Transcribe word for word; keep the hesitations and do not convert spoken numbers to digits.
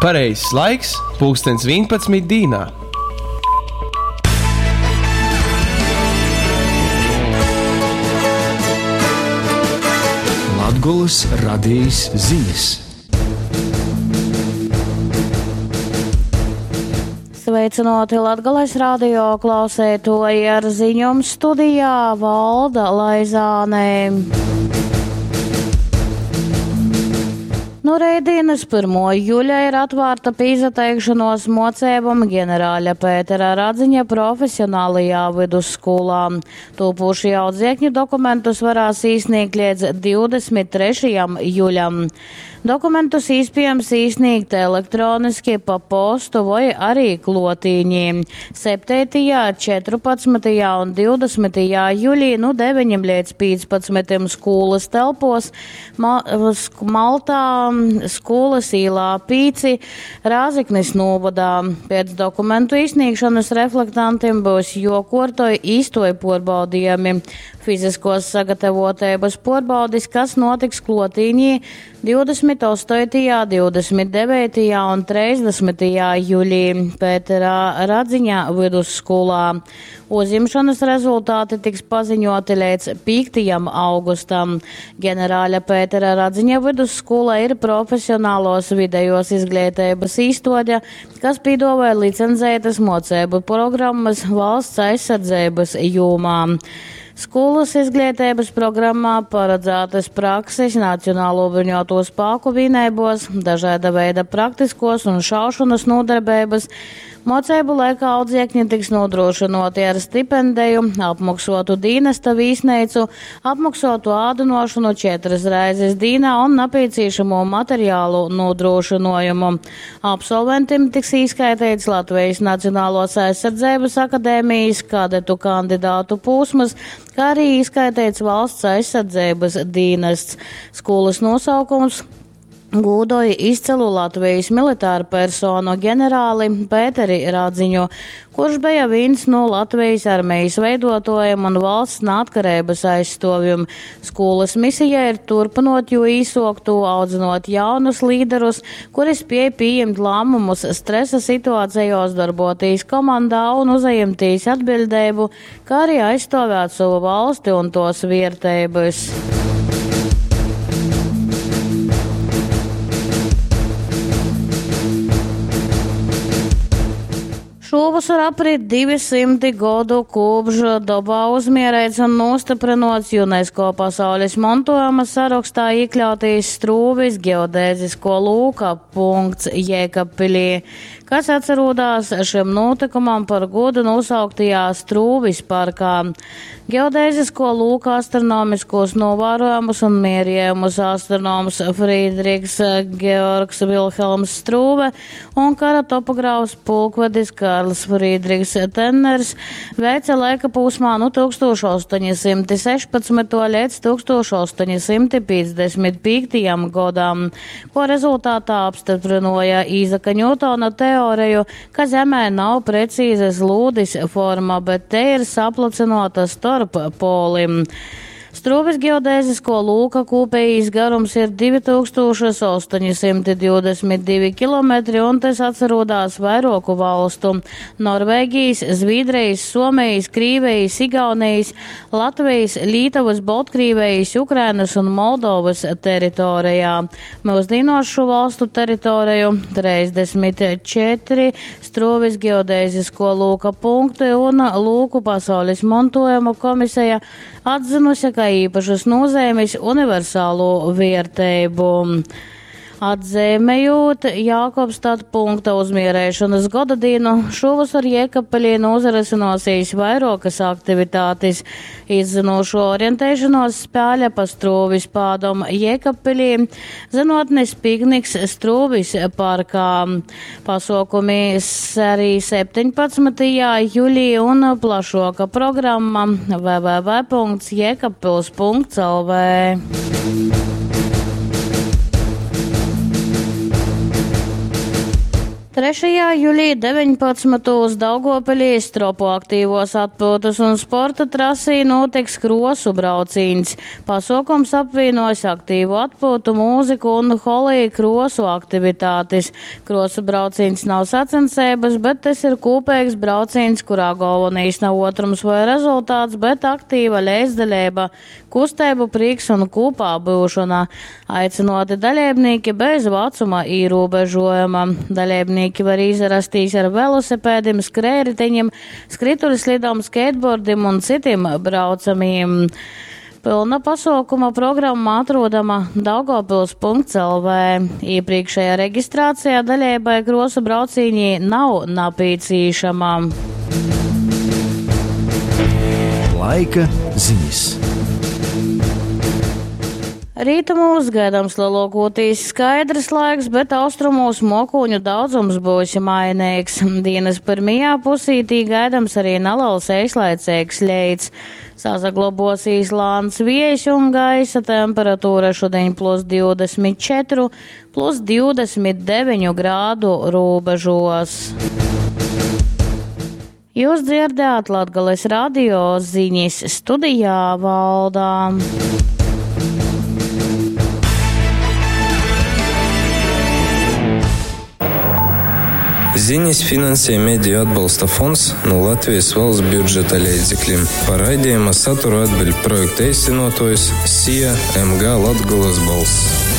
Pareizais laiks - pulkstens vienpadsmit dīnā. Latgolys radejis zinis. Sveicināti Latgales radio klausētoji ar ziņom studijā Valda Laizāne. No reidienas pirmo juļa ir atvērta pīzateikšanos mocībam ģenerāļa Pētera Radziņa profesionālajā vidusskolā. Tūpūšie audziekņu dokumentus varēs īsniegt līdz divdesmit trešajam juļam. Dokumentus iespējams īsniegt elektroniski pa postu vai arī klotīņī. Septītajā, četrpadsmitajā un divdesmitajā jūlijā no deviņiem līdz piecpadsmitiem skolas telpos Ma-, sk-, Maltā, skolas īlā Pīci, Rāziknis novadā. Pēc dokumentu īsniegšanas reflektantiem būs jokortoj īstoj porbaudījumi. Fiziskos sagatavotības porbaudis, kas notiks klotīņī divdesmit astotajā, divdesmit devītajā un trīsdesmitajā jūlijā Pēterā Radziņa vidusskolā. Uzņemšanas rezultāti tiks paziņoti līdz piektajam augustam. Ģenerāļa Pētera Radziņa vidusskola ir profesionālos vidējos izglītības īstode, kas piedāvāja licencētas mocību programmas valsts aizsardzības jomā. Skolas izglītības programmā paredzētas prakses Nacionālo bruņoto spēku vienībos, dažāda veida praktiskos un šaušanas nodarbības. Mocību laikā audziekņi tiks nodrošinoti ar stipendiju, apmaksotu dienesta vīsneicu, apmaksotu ādunošanu četras reizes dīnā un nepieciešamo materiālu nodrošinājumu. Absolventim tiks īskaitīts Latvijas Nacionālos aizsardzības akadēmijas kadetu kandidātu posms, kā arī īskaitīts valsts aizsardzības dienests. Skolas nosaukums gūdoja izcelu Latvijas militāru personu ģenerāli Pēteri Radziņu, kurš bija viens no Latvijas armijas veidotājiem un valsts neatkarības aizstovjiem. Skolas misija ir turpinot jo īsoktu, audzinot jaunus līderus, kuri spēj pieņemt lēmumus stresa situācijos, darboties komandā un uzajemties atbildību, kā arī aizstāvēt savu valsti un tos vērtības. Šovasar aprit divi simti godu kopš dabā uzmierēts un nostiprinots UNESCO pasaules mantojuma sarakstā iekļauties Strūvis geodēzisko lūka punkts Jēkabpilī, kas atcerodās šim notikumam par godu nosauktajā Strūvis parkā. Geodēzisko lūka astronomiskos novērojumus un mierījumus astronoms Friedrichs Georgs Wilhelms Strūve un kara topogrāfs pulkvedis Karls Friedrichs Tenners veica laika posmā no tūkstoš astoņsimti sešpadsmito līdz tūkstoš astoņsimti piecdesmit piektajam gadam, ko rezultātā apstiprināja Īzaka Ņūtona teoriju, ka Zemē nav precīzas lūdis forma, bet te ir saplacinota starp polim. Strūvis geodēzisko lūka kopējais garums ir divi tūkstoši astoņsimti divdesmit divi kilometri un tas atcerodās vairoku valstu – Norvēģijas, Zviedrijas, Somijas, Krīvijas, Igaunijas, Latvijas, Lītavas, Baltkrievijas, Ukrainas un Moldovas teritorijā. Mūsdienos šo valstu teritoriju trīsdesmit četri Strūvis geodēzisko lūka punkti un lūku pasaules mantojuma komisija atzinusi, ka īpašas nozīmes universālo vērtību. Atzīmējot Jākobstad punkta uzmierēšanas godadienu, šovasar Jēkabpilī nozaresinosīs vairākas aktivitātes. Izzinošo orientēšanos spēle pa Strūvis pādom Jēkabpilī, zinotnes pikniks Strūvis parkā. Pasaukumi arī septiņpadsmitajā jūlijā un plašoka programma w w w punkts jēkabpils punkts l v. Trešajā julī deviņpadsmytūs Daugavpilī Stropu aktīvos atpyutas un sporta trasī notiks krosu braucīņs. Pasuokums apvīnos aktīvu atpūtu, mūziku un holī krosu aktivitātes. Krosu braucīņs nav sacensības, bet tas ir kopīgs braucīņs, kurā galvenais nav otrums vai rezultāts, bet aktīva līdzdalība, kustēbu prieks un kopā būšana. Aicinoti dalībnieki bez vecuma ierobežojuma. Dalībnieki var izrastīs ar velosipēdim, skrējriteņiem, skrituļslidām, skateboardim un citiem braucamiem. Pilna pasaukuma programma atrodama daugavpils punkts lv. Iepriekšējā reģistrācijā daļēbai krosu braucīņī nav napīcīšama. Laika ziņas. Rītumos gaidāms lielākoties skaidrs laiks, bet austrumos mokūņu daudzums būs mainīgs. Dienas pirmajā pusītī gaidāms arī neliels eislaicīgs leits. Sasaglabosies lāns viejs un gaisa temperatūra šodien plus divdesmit četru, plus divdesmit deviņu grādu robežos. Jūs dzirdējāt Latgales radio ziņas studijā Valdā. Ziņas finansē Mediju atbalsta fonds no Latvijas valsts budžeta līdzekļiem. Par raidījuma saturu atbild projekta īstenotājs S I A M G Latgolas balss.